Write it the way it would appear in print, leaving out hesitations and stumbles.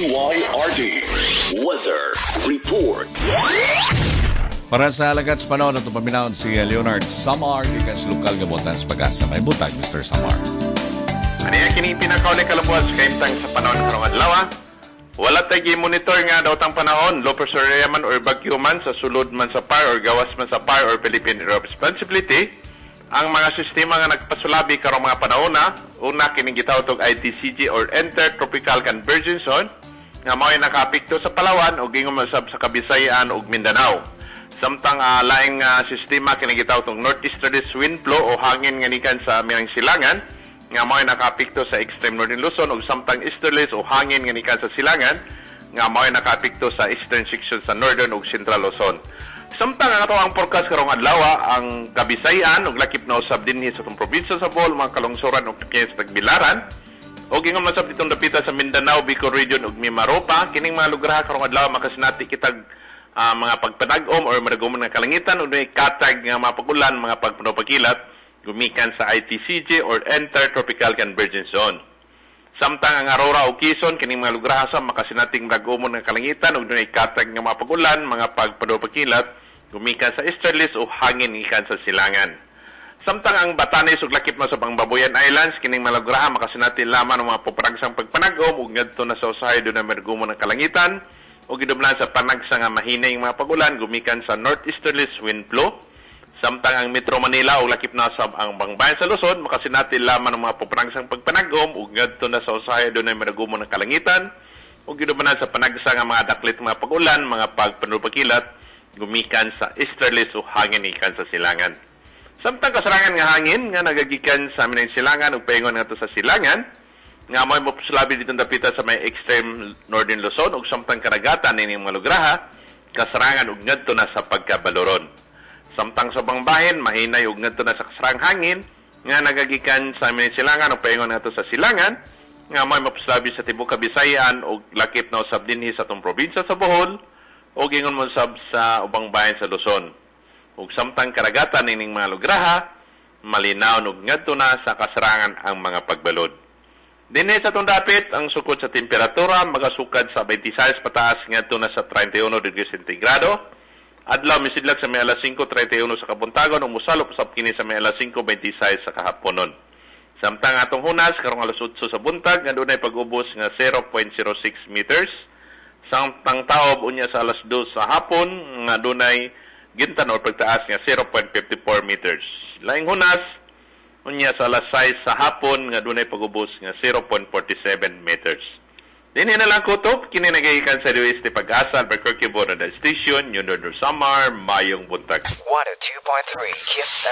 DYRD Weather Report. Para sa lagat sa panahon, atong paminawon si Leonard Samar, gikan sa lokal nga buotan sa PAGASA. Maayong buntag, Mr. Samar. Ani kini pinakauli kalabuan sa kahimtang sa panahon karong adlaw. Wala tay monitor nga daotang panahon, low pressure area man or bagyo man sa sulod man sa PAR or gawas man sa PAR or Philippine Area of Responsibility. Ang mga sistema nga nagpasulabi karong mga panahon na, una kining gitawag og ITCZ or Intertropical Convergence Zone nga mao'y nakaapekto sa Palawan ug ingon man sab sa Kabisayaan ug Mindanao. Samtang laing sistema kini gitawag og Northeasterly Wind Flow o hangin nga nikan sa amihanang silangan nga mao'y nakaapekto sa extreme northern Luzon ug samtang easterlies o hangin nga nikan sa silangan nga mao'y nakaapekto sa eastern section sa northern ug central Luzon. Samtang ang atoang forecast karong adlaw, ang Kabisayan ug lakip na usab dinhi sa atong probinsya sa Bohol, mga kalungsuran ug sa Tagbilaran ug ingon man sab ditong dapita sa Mindanao, Bicol Region ug Mimaropa, kining mga lugar karong adlaw makasinati kitag mga pagpanag-om or madagomon nga kalangitan ug may katag nga mga pag-ulan, mga pagpanupakilat gumikan sa ITCZ or Intertropical Convergence Zone. Samtang ang Aurora ug Quezon, kining mga lugar sa makasinating madagomon nga kalangitan ug dunay katag nga mga pag-ulan, mga pagpanupakilat gumikan sa easterlies o hangin gikan sa silangan. Samtang ang Batanes ug lakip na sa Babuyan Islands, kining mga lugar makasinati lamang ng mga puparagsang pagpanag-om ug ngadto na sa usahay dunay madagomon nga kalangitan ug gidumlan sa panagsa nga mahinay mga pag-ulan gumikan sa northeasterlies wind flow. Samtang ang Metro Manila ug lakip na sab ang Bangbayan sa Luzon makasinati lamang ng mga puparagsang pagpanag-om ug ngadto na sa usahay dunay madagomon nga kalangitan ug gidumlan sa panagsa nga mga daklit mga pag-ulan, mga pagpanupakilat gumikan sa easterlies o hangin gikan sa silangan. Samtang kasarangan nga hangin nga nagagikan sa amihanang silangan ug paingon ngadto sa silangan nga mo'y mopasulabi ditong dapita sa may extreme northern Luzon ug samtang karagatan nining mga lugraha kasarangan ug ngadto na sa pagkabaloron. Samtang sa bangbahin mahinay ug ngadto na sa kasarang hangin nga nagagikan sa amihanang silangan ug paingon ngadto sa silangan nga mo'y mopasulabi sa tibuok Kabisayan ug lakip na usab dinhi sa atong probinsya sa Bohol ug ingon mo sab sa ubang bahin sa Luzon. Ug samtang karagatan nining mga lugraha malinaw ug ngadto na sa kasarangan ang mga pagbalod. Dinhi sa atong dapit, ang sukod sa temperatura magasukad sa 26 pataas ngadto na sa 31 degrees sentigrado. Adlaw misidlak sa may alas 5:31 sa kabuntagon ug mosalop usab kini sa may alas 5:26 sa kahaponon. Samtang atong hunas karong alas 8 sa buntag nga dunay pag-ubos nga 0.06 meters. Samtang taob unya sa alas 2 sa hapon nga dunay gintan or pagtaas nga 0.54 meters. Laing hunas unya sa alas 6 sa hapon nga dunay pag-ubos nga 0.47 meters. Dinhi na lang kutob, kini nagagikan sa DOST PAGASA, Albuquerque Board Station, New Northern Samar, maayong buntag. 102.3 Kiss